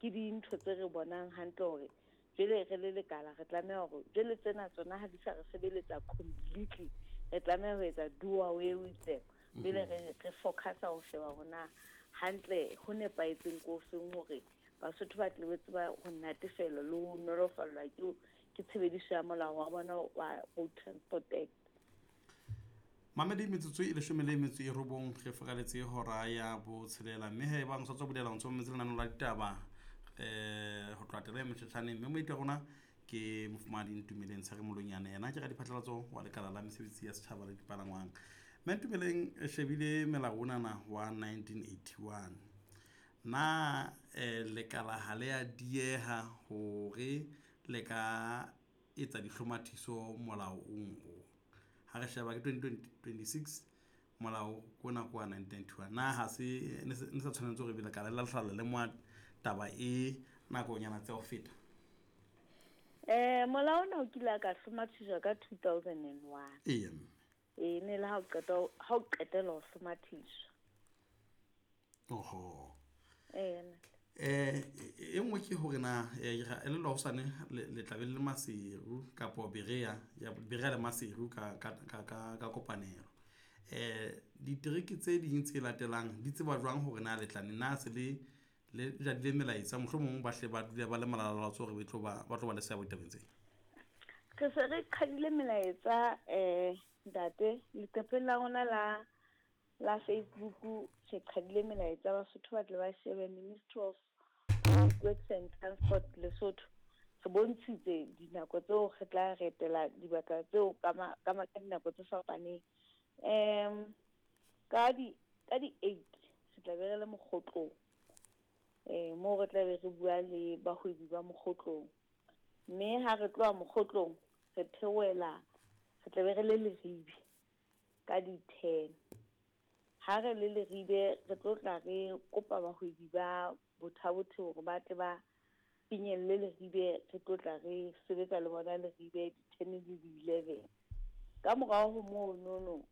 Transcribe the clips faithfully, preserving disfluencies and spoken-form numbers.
Ke dintho tse re bonang hantle hore jwale re le lekala re tlameha hore jwale tsena tsona ha di sa re sebeletsa completely, re tlameha ho etsa do away with them. Jwale re re focusa ho sheba hore na hantle ho nepahetseng ko feng hore Basotho ba tle be tseba ho natefelwa le ho nolofallwa ke ke tshebediso ya molao wa bona wa Road Transport Act. Mamedi, metsotso e leshome le metso e robong re furaletse hora ya botshelela, mme he bang sa tswa bulela o ntso mametse lenaneo la ditaba um ho tloha taba e motjhetjhaneng, mme moeti wa rona ke mofumahadi Ntumeleng Tsheremolonyane, yena ke radiphatlalatso wa lekala la mesebetsi ya setjhaba le dipalangwang. Mme Ntumeleng, re shebile melao onana wa nineteen eighty-one, na um lekala ha le a dieha hore le ka etsa dihlomathiso molaong o? Ha re sheba ke twenty twenty-six, molao ona ke wa nineteen ninety-one, na ha se ne se sa tshwanetse hore ebe lekala le hlala le moa taba e nakonyana tse ho feta? Eh, molao ona o kile a ka hlomathiswa ka two thousand and one. Eya, mme. E ne le ha o qeta ho, ha o qetela ho hlomathiswa. Oho. Eya. Eh, e nngwe ke hore na, eh, ra elellwa hosane le, le tla be le Maseru kapo Berea, ya Berea le Maseru ka, ka, ka, ka, ka kopanelo. Eh, ditereke tse ding tse latelang di tseba jwang hore na le tla ne na se le, le jadile melaetsa, mohlomong ba hle ba dule ba le malalaalaotswe hore ba tlo ba, ba tlo ba le seabo ditabeng tse? Re se re qhadile melaetsa, eh, ntate, leqepheng la rona la, la Facebook re qhadile melaetsa, Basotho ba tle ba shebe Ministry of Public Works and Transport Lesotho. Re bontshitse dinako tseo re tla re etela dibaka tseo ka ma-, ka ma-, ka dinako tse fapaneng. Em, ka di, ka di eight re tla be re le Mokgotlong. Eh, moo re tla be re bua le bahwebi ba Mokgotlong. Mme ha re tloha Mokgotlong, re theohela, re tla be re le Leribe ka di ten. Ha re le Leribe, re tlo tla re kopa bahwebi ba Botha-Bothe hore ba tle ba finyelle Leribe, re tlo tla re sebetsa le bona Leribe di ten le di eleven. Ka morao ho monono,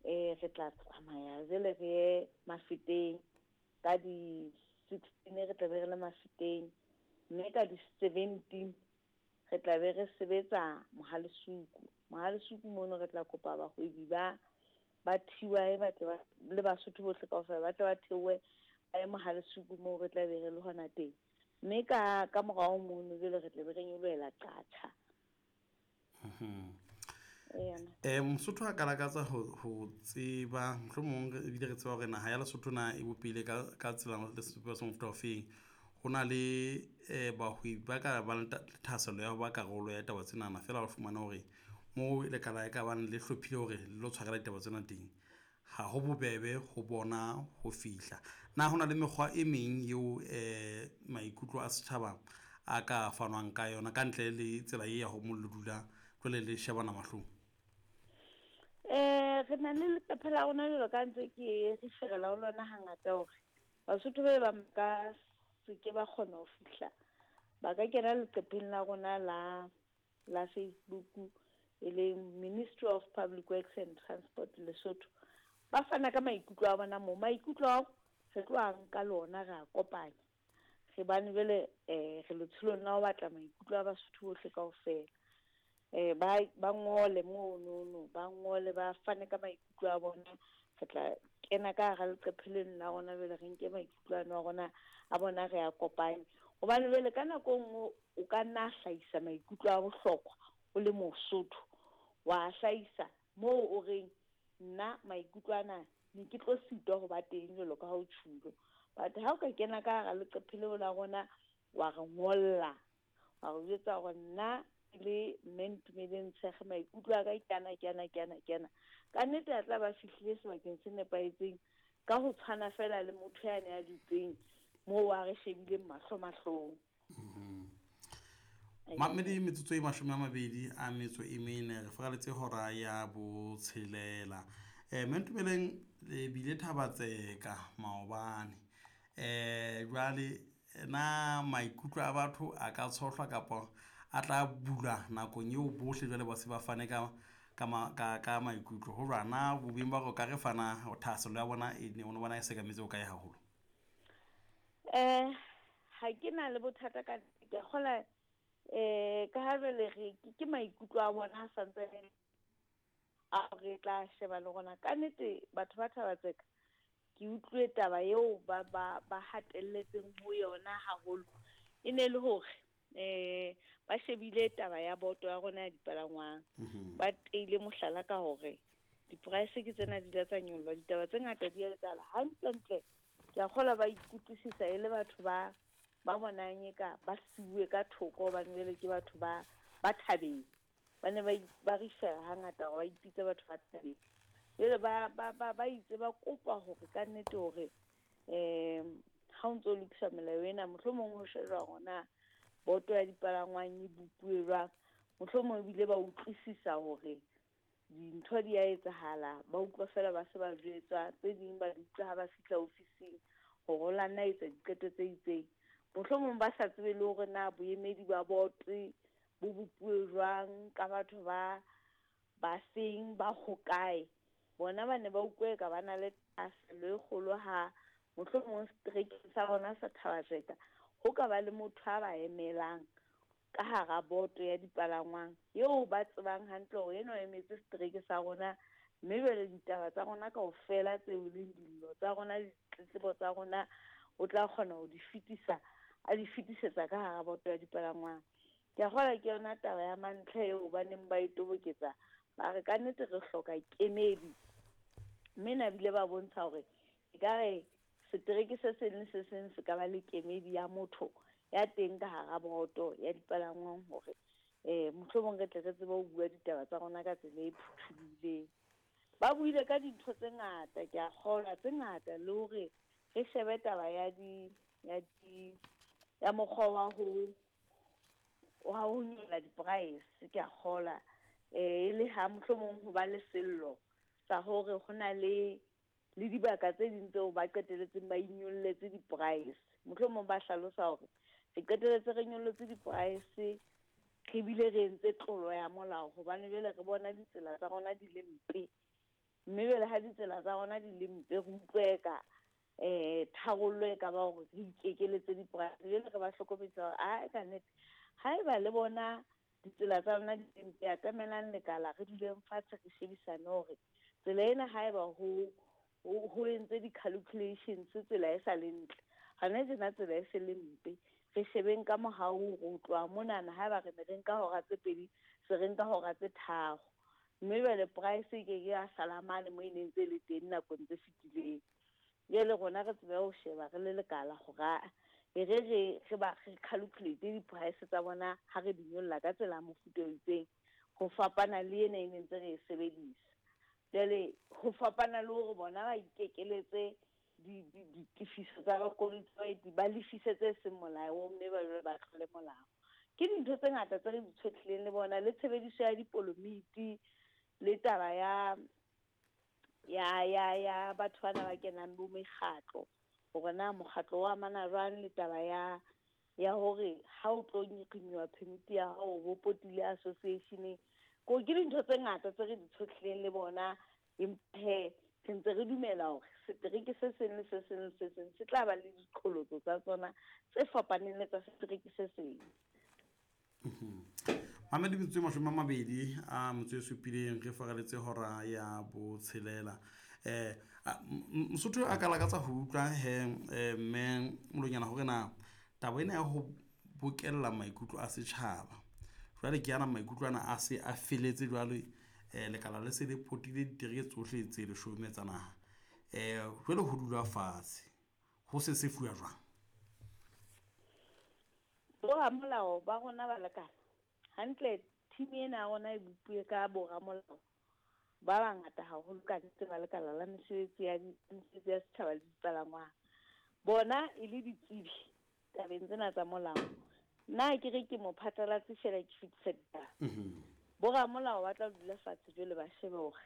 eh, re tla tsamaya jwale re ye Mafeteng ka di sixteen, re tla be re le Mafeteng, mme ka di seventeen re tla be re sebetsa Mohalesuku. Mohalesuku mono re tla kopa bahwebi ba, ba T Y ba tle ba, le Basotho bohle kaofela ba tle ba theohe ba ye Mohalesuku moo re tla be re le hona teng. Mme ka, ka morao mono jwale re tla be re nyolohela Qacha. Mhm. Eya. Eh, Mosotho a ka lakatsa ho, ho tseba, mohlomong re ebile re tseba hore naha ya Lesotho na e bopehile ka, ka tsela le sebopeho sa mofuta ofeng. Ho na le, eh, bahwebi ba ka bang le thahasello ya ho ba karolo ya taba tsenana, feela ba fumana hore moo lekala e ka bang le hlophile hore le lo tshwarela ditaba tsena teng, ha ho bobebe ho bona ho fihla. Na hona le mekgwa e meng eo, eh, maikutlo a setjhaba a ka fanwang ka yona ka ntle le tsela e ya ho mo le dula jwale le shebana mahlong? Eh, re na le leqephe la rona jwalo ka ntse ke re ferela ho lona hangata hore Basotho ba bang ka se ke ba kgona ho fihla, ba ka kena leqepheng la rona la, la Facebook, e leng Ministry of Public Works and Transport Lesotho. Ba fana ka maikutlo a bona moo. Maikutlo ao re tlo a nka lona re a kopanya. Re bane jwale, eh, re letsholong la ho batla maikutlo a Basotho bohle kaofela. Eh, ba, ba ngole monono, ba ngole, ba fane ka maikutlo a bona. Re tla kena ka hara leqephe leno la rona jwale re nke maikutlo ano a rona, a bona re a kopanye. Hobane jwale ka nako e nngwe o ka nna hlahisa maikutlo a bohlokwa o le Mosotho, wa hlahisa moo o reng nna maikutlo ana ne ke tlo sitwa ho ba teng jwalo ka ha o tjhulo. But ha o ka kena ka hara leqephe leo la rona wa re ngolla, wa re jwetsa hore nna le mme Ntumeleng Tshekge maikutlo a ka ke ana, ke ana, ke ana, ke ana. Ka nnete a tla ba fihlile sebakeng se nepahetseng ka ho tshwana feela le motho yane a dutseng moo a re shebileng mahlo mahlong. Mm-hmm. Mamedi, metsotso e mashome a mabedi a metso e mene re furaletse hora ya botshelela. Eh, mme Ntumeleng, le bile Thabatseka maobane. Eh, jwale na maikutlo a batho a ka tshohlwa kapa a tla bulwa nakong eo bohle jwale ba se ba fane ka, ka ma-, ka, ka maikutlo? Ho jwang na bobeng ba hore o ka re fana thahasello ya bona e ne o bona e sekametse ho kae haholo? Eh, ha ke na le bothata ka ke a kgola eh ka ha jwale re ke maikutlo a bona a santsane a re tla sheba le rona. Ka nnete batho ba Thaba-Tseka ke utlwe taba eo ba ba ba hatelletseng ho yona haholo e ne le hore eh ba shebile taba ya boto ya rona ya dipalangwang. Ba teile mohlala ka hore di-price ke tsena di la tsa nyollwa, ditaba tse ngata di a etsahala hantlentle. Ke a kgolwa ba ikutlwisisa e le batho ba ba bonang eka ba siuwe ka thoko hobane jwale ke batho ba ba thabeng. Ba ne ba ba refer-a hangata hore ba ipitsa batho ba thabeng. Jwale ba ba ba ba itse ba kopa hore ka nnete hore um ha o ntso lokisa melao ena mohlomong ho shejwa hore na boto ya dipalangwang e bopuwe jwang. Mohlomong ebile ba utlwisisa hore dintho di a etsahala, ba utlwa feela ba se ba jwetswa, tse ding ba di utlwa ha ba fihla ofising hore o la nna etsa diqeto tse itseng. Mohlomong ba sa tsebe le hore na boemedi ba boto bo bopuwe jwang ka batho ba ba seng ba hokae. Bona ba ne ba utlwe ka ba na le thahasello e kgolo ha mohlomong seterekeng sa bona sa Thaba-Tseka ho ka ba le motho a ba emelang ka hara boto ya dipalangwang eo ba tsebang hantle hore eno emetse setereke sa rona, mme jwale ditaba tsa rona kaofela tseo leng dillo tsa rona le ditletlebo tsa rona o tla kgona ho di fetisa, a di fetisetsa ka hara boto ya dipalangwang. Ke a kgolwa ke yona taba ya mantlha eo ba neng ba e toboketsa, ba re ka nnete re hloka kemedi. Mme na bile ba bontsha hore ekare setereke se seng le se seng se ka ba le kemedi ya motho ya teng ka hara boto ya dipalangwang hore eh mohlomong re tle re tsebe ho bua ditaba tsa rona ka tsela e phuthulohileng. Ba buile ka dintho tse ngata, ke a kgolwa tse ngata, le hore re shebe taba ya di ya di ya mokgwa wa ho wa ho nyolla di-price. Ke a kgolwa eh e le ha mohlomong ho ba le sello sa hore ho na le le dibaka tse ding tseo ba qetelletseng ba inyolletse di-price. Mohlomong ba hlalosa hore re qetelletse re nyollotse di-price re bile re entse tlolo ya molao hobane jwale re bona ditsela tsa rona di le mpe, mme jwale ha ditsela tsa rona di le mpe re utlwe ka eh tharollo e ka ba hore re ikekeletse di-price. Jwale re ba hlokomedisa hore a ka nnete haeba le bona ditsela tsa rona di le mpe, atamelang lekala re duleng fatshe re shebisane hore tsela ena haeba ho ho entse di-calculations tsela e sa le ntle, hona tjena tsela e se le mpe, re shebeng ka mohau hore ho tloha monana haeba re ne re nka hora tse pedi se re nka hora tse tharo, mme jwale price e ke ke ya sala mane moo e neng ntse le teng nakong tse fetileng. Jwale rona re tsebe ho sheba re le lekala hore e re re re ba re calculate di-price tsa bona ha re di nyolla ka tsela ya mofuta o itseng ho fapana le ena e neng ntse re e sebedisa. Jwale ho fapana le hore bona ba ikekeletse ditefiso tsa bakoloi ba lefise tse seng molaong mme ba jwale ba tlole molao. Ke dintho tse ngata tse re di tshwetlileng le bona, le tshebediso ya dipolomiti le taba ya ya ya ya batho bana ba kenang bo mekgatlo, hore na mokgatlo o amana jwang le taba ya ya hore ha o tlo renew permit ya hao bo potile association. Ko ke dintho tse ngata tse re di tshohlileng le bona, empa he re ntse re dumela hore setereke se seng le se seng le se seng se tla ba le diqholotso tsa tsona tse fapaneng le tsa setereke se seng. Mamedi metsotso e mashome a mabedi a motso e supileng re faraletse hora ya botshelela. Eh Mosotho a ka lakatsa ho utlwa he mme Molonyana hore na taba ena ya ho bokella maikutlo a setjhaba jwale ke ana maikutlo ana a se a feletse jwale eh lekala le se le potile ditereke tsohle tse leshome tsa naha. Eh jwale ho dula fatshe ho se se fuwa jwang? Boramolao ba rona ba lekala hantle, team ena ya rona e bopuwe ka boramolao ba bangata haholo ka nnete ba lekala la mesebetsi ya mesebetsi ya setjhaba le dipalangwang. Bona e le ditsebi tabeng tsena tsa molao. Nna ke re ke mophatlalatsi feela ke fetisa ditaba. Boramolao ba tla dula fatshe jwale ba shebe hore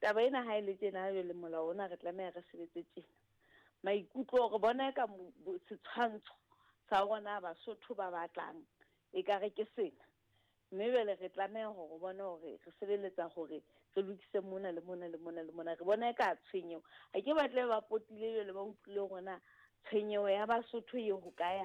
taba ena ha e le tjena jwale molao ona re tlameha re sebetse tjena. Maikutlo hore bona ka setshwantsho sa rona Basotho ba batlang ekare ke sena, mme jwale re tlameha hore bona hore re sebeletsa hore re lokise mona le mona le mona le mona. Re bona eka tshwenyeho ha ke batle ba potile jwale ba utlwile hore na tshwenyeho ya Basotho e hokae